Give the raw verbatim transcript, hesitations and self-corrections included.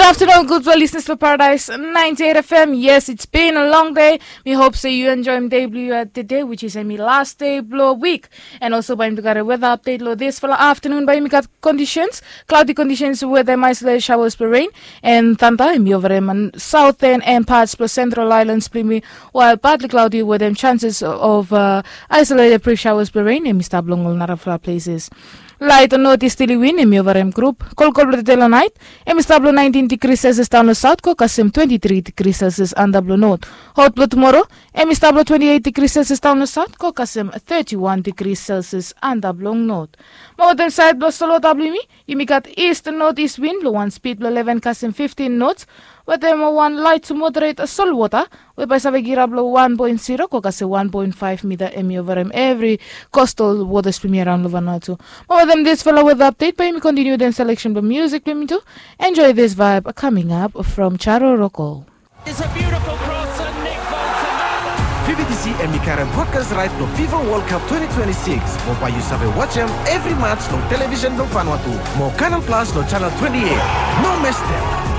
Afternoon, gudfala listeners blong Paradise ninety-eight F M. Yes, it's been a long day. Mi hop se yu enjoem dei blong yu tede, which is hemi last day blong wik. And also bae yumi tu karem weather update long disfala afternoon. Bae yumi gat conditions, cloudy conditions with them isolated showers blong rain and thunder. Hemi over him on southern and parts blong central islands blong yumi, while partly cloudy with them chances of uh, isolated brief showers blong rain. Hemi stap long ol narafala places. Light northeasterly wind hemi over him group. Kolkol blong tede long night hemi stap long nineteen degrees Celsius daon long south, go kasem twenty-three degrees Celsius antap long north. Hot blong tomorrow hemi stap long twenty-eight degrees Celsius daon long south, go kasem thirty-one degrees Celsius antap long north. Mo wetem saed blong solwota blong yumi, yumi gat east northeast wind blong wan speed blong eleven kasem fifteen knots, wetem wan light to moderate solwota we bae save girap long one point zero go kasem one point five mita hemi over him evri coastal waters blong yumi araon long Vanuatu. Mo wetem disfala weather update bae yumi continue dem selection blong music blong yumi tu. Enjoy this vibe coming up from Charo Roko. It's a beautiful cross and Nick Bolton. Vivi D C hemi karem broadcast right blong FIFA World Cup twenty twenty-six. Mo bae yu save wajem evri match long television blong Vanuatu. Mo Canal Plus long channel twenty-eight. No mes dem.